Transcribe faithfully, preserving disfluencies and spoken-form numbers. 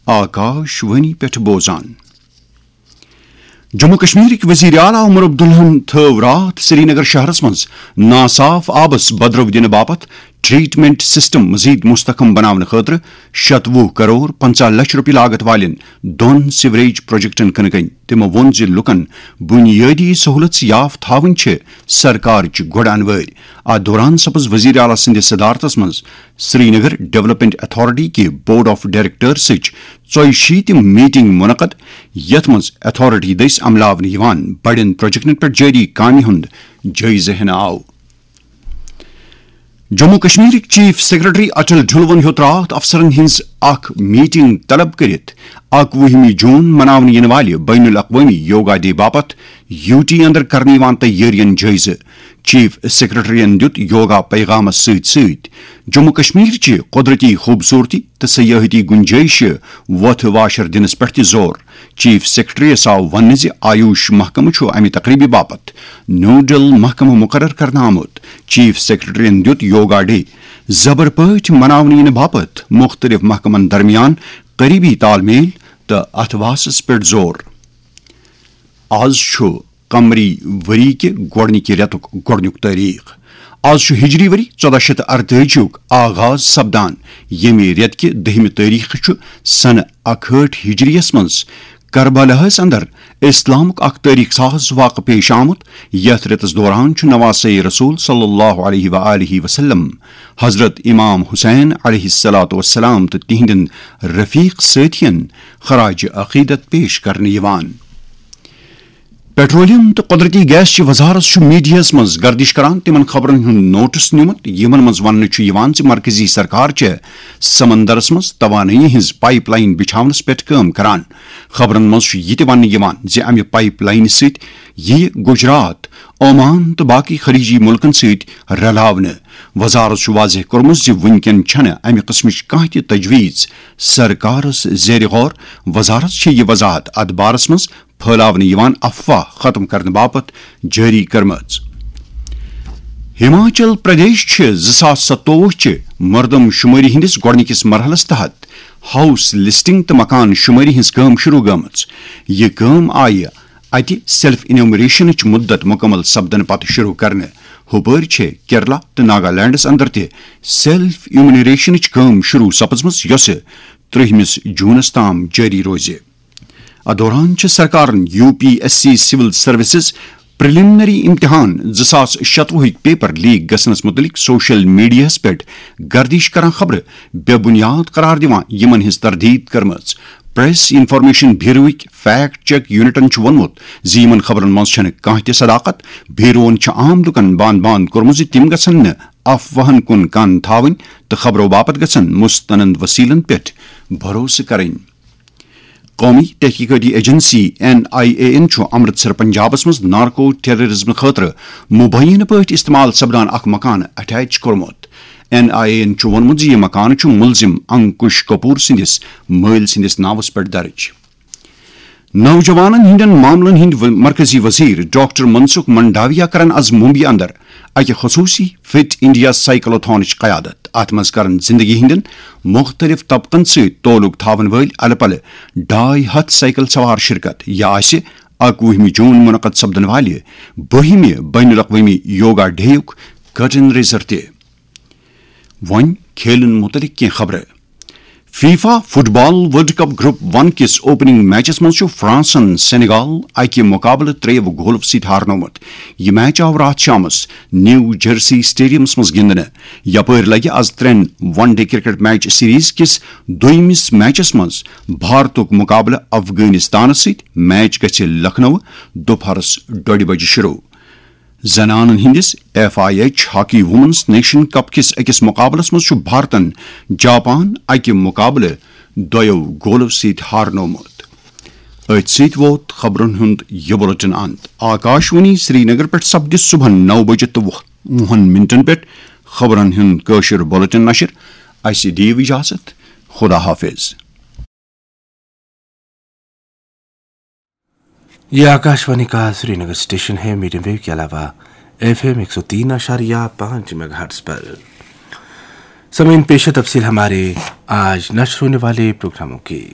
آکاش وانی پٮ۪ٹھ بوزان۔ جموں کشمیرٕکۍ وزیر اعلیٰ عمر عبداللہَن تھٲو راتھ سرینگر شہرس منٛز ناصاف آبس بدرو دِنہٕ باپتھ ٹریٹمنٹ سسٹم مزید مستحکم بناونہٕ خٲطرٕ شتوُہ کرور پنژاہ لچھ رۄپیہِ لاگت والٮ۪ن دۄن سیوریج پروجیکٹن کٕنہٕ کٔنۍ۔ تِمو ووٚن زِ لوٗکن بُنیٲدی سہولژ یافتہٕ تھاوٕنۍ چھِ سرکارٕچ گۄڈٕ انوٲرۍ۔ اتھ دوران سپز وزیر اعلیٰ سٕنٛدِس صدارتس منٛز سرینگر ڈیولپمنٹ اتھارٹی کہِ بورڈ آف ڈائریکٹرسٕچ ژۄیہِ شیٖتِم میٹنگ منعقد، یتھ منٛز اتھارٹی دٔسۍ عملاونہٕ یِوان بڑٮ۪ن پروجیکٹن پٮ۪ٹھ جٲری کامہِ ہُنٛد جٲیزٕ ہٮ۪نہٕ آو۔ جموں کشمیرٕکۍ چیف سیکرٹری اٹل ڈھلون ہیوٚت راتھ افسرن ہٕنٛز اکھ میٹنگ طلب کٔرِتھ اکوُہمہِ جون مناونہٕ یِنہٕ والہِ بین الاقوٲمی یوگا ڈے باپتھ یوٗ ٹی اندر کرنہٕ یِوان تیٲرین جٲیزٕ۔ چیف سیکرٹریَن دیُت یوگا پیغامس سۭتۍ سۭتۍ جموں کشمیر چہِ قدرتی خوبصورتی تہٕ سیاحتی گنجائشہِ وۄتھٕ واشر دِنس پٮ۪ٹھ تہِ زور۔ چیف سیکرٹریَس آو وننہٕ زِ آیوش محکمہٕ چھُ امہِ تقریبہِ باپتھ نوڈل محکمہٕ مقرر کرنہٕ آمُت۔ چیف سیکرٹریَن دیُت یوگا ڈے زبر پٲٹھۍ مناونہٕ یِنہٕ باپتھ مُختٔلِف محکمن درمیان قریبی تال میل تہٕ اتھواسس پٮ۪ٹھ زور۔ آز چھُ قمری ؤری کہِ گۄڈٕنِکہِ رٮ۪تُک گۄڈٕنیُک تٲریخ۔ آز چھُ ہجری ؤری ژۄداہ شیٚتھ تہٕ اَرتٲجی یُک آغاز سپدان، ییٚمہِ رٮ۪تہٕ کہِ دٔہمہِ تٲریخہٕ چھُ سنہٕ اکہٲٹھ ہجریَس منٛز کربلاہَس اندر اسلامُک اکھ تٲریخ ساز واقعہٕ پیش آمُت، یتھ رٮ۪تس دوران چھُ نواسے رسول صلی اللہ علیہ و آلہ وسلم حضرت امام حسین علیہ الصلوۃ والسلام تہٕ تِہنٛدٮ۪ن رفیق سٲتھین خراج عقیدت پیش کرنہٕ یِوان۔ پیٹرولیم تہٕ قدرتی گیس چہِ وزارت چھُ میڈیاہَس منٛز گردش کران تِمن خبرن ہُنٛد نوٹس نیومُت، یِمن منٛز وننہٕ چھُ یِوان زِ مرکزی سرکار چھےٚ سمندرس منٛز توانٲیی ہٕنٛز پائپ لائن بچھاونس پٮ۪ٹھ کٲم کران۔ خبرن منٛز چھُ یہِ تہِ وننہٕ یِوان زِ امہِ پائپ لائنہِ سۭتۍ یِیہِ گجرات، عمان تہٕ باقی خلیجی ملکن سۭتۍ رلاونہٕ۔ وزارت چھُ واضح کوٚرمُت زِ وُنکٮ۪ن چھنہٕ امہِ قٕسمٕچ کانٛہہ تہِ تجویز سرکارس زیر غور۔ وزارت چھِ یہِ وضاحت اتھ بارس منٛز پھٲلاونہٕ یِوان افواہ ختم کرنہٕ باپتھ جٲری کٔرمٕژ۔ ہماچل پردیش چھِ زٕ ساس ستووُہ چہِ مردم شمٲری ہٕنٛدِس گۄڈٕنِکِس مرحلس تحت ہاؤس لسٹنگ تہٕ مکان شمٲری ہٕنٛز کٲم شروع گٔمٕژ۔ یہِ کٲم آیہِ اتہِ سیلف انیومریشنٕچ مدت مکمل سپدنہٕ پتہٕ شروع کرنہٕ۔ ہُپٲرۍ چھےٚ کیرلا تہٕ ناگالینڈس اندر تہِ سیلف انیومریشنٕچ کٲم شروع سپٕزمٕژ، یۄسہٕ ترٛہمِس جونس تام جٲری روزِ۔ اتھ دوران چھِ سرکارن یو پی ایس سی سول سروسز پریلیمنری امتحان زٕ ساس شتوُہٕکۍ پیپر لیک گژھنس متعلق سوشل میڈیاہس پٮ۪ٹھ گردش کران خبرٕ بے بنیاد قرار دِوان، یِمن ہٕنٛز تردید کٔرمٕژ۔ پریس انفارمیشن بیوروٕکۍ فیکٹ چیک یونٹن چھُ ووٚنمُت زِ یِمن خبرن منٛز چھنہٕ کانٛہہ تہِ صداقت۔ بیوروہن چھُ عام لوٗکن باند باند کوٚرمُت زِ تِم گژھن نہٕ افواہن کُن کن تھاوٕنۍ تہٕ خبرو باپتھ گژھن مستند وسیلن پٮ۪ٹھ بھروسہٕ کرٕنۍ۔ قومی تحقیقاتی ایجنسی این آئی اے یَن چھُ امرتسر پنجابس منٛز نارکو ٹیررزم خٲطرٕ مبینہ پٲٹھۍ استعمال سپدان اکھ مکانہٕ اٹیچ کوٚرمُت۔ این آئی اے یَن چھُ ووٚنمُت زِ یہِ مکانہٕ چھُ ملزم انکش کپور سٕنٛدِس مٲلۍ سٕنٛدِس ناوس پٮ۪ٹھ درج۔ نوجوانن ہٕنٛدٮ۪ن معاملن ہٕنٛدۍ و-، مرکزی وزیر ڈاکٹر منسکھ منڈاویا کرن از ممبئی اندر اکہِ خصوصی فٹ انڈیا سائیکلاتھانٕچ قیادت۔ اتھ منٛز کرن زندگی ہٕنٛدٮ۪ن مختلف طبقن سۭتۍ تعلق تھاون وٲلۍ الہٕ پلہٕ ڈاے ہتھ سائیکل سوار شرکت۔ یہِ آسہِ اکوُہمہِ جون منعقد سپدن والہِ بٔہمہِ بین الاقوٲمی یوگا ڈے یُک curtain raiser تہِ۔ وۄنۍ کھیلن متعلق کینٛہہ خبرٕ۔ فیفا فٹ بال ورلڈ کپ گروپ ون کِس اوپننگ میچس منٛز چھُ فرانسن سینیگال اکہِ مقابلہٕ ترٛیٚیو گولو سۭتۍ ہارنومُت۔ یہِ میچ آو راتھ شامس نیو جرسی اسٹیڈیمس منٛز گِنٛدنہٕ۔ یپٲرۍ لگہِ از ترٛٮ۪ن ون ڈے کرکٹ میچ سیریز کِس دوٚیمِس میچس منٛز بھارتُک مقابلہٕ افغٲنستانس سۭتۍ۔ میچ گژھِ لکھنؤ دُپہرس ڈوٚڈِ بجہِ شروع۔ زنانن ہٕنٛدِس F I H hockey women's nation cup کِس أکِس مقابلس منٛز چھُ بھارتن جاپان اکہِ مقابلہٕ دۄیو گولو سۭتۍ ہارنومُت۔ أتھۍ سۭتۍ ووت خبرن ہُنٛد یہِ بُلٹن اند۔ آکاشوانی سرینگر پٮ۪ٹھ سپدِ صبحن نو بجہِ تہٕ وُہ، وُہن منٹن پٮ۪ٹھ خبرن ہُنٛد کٲشُر بُلٹن نشر۔ اسہِ دِیِو اجازت۔ خدا حافظ۔ یہ آکاشوانی کا سری نگر اسٹیشن ہے، میڈیم ویو کے علاوہ ایف ایم ایک سو تین اشاریہ پانچ میگا ہرٹز پر۔ سامعین، پیش ہے تفصیل ہمارے آج نشر ہونے والے پروگراموں کی۔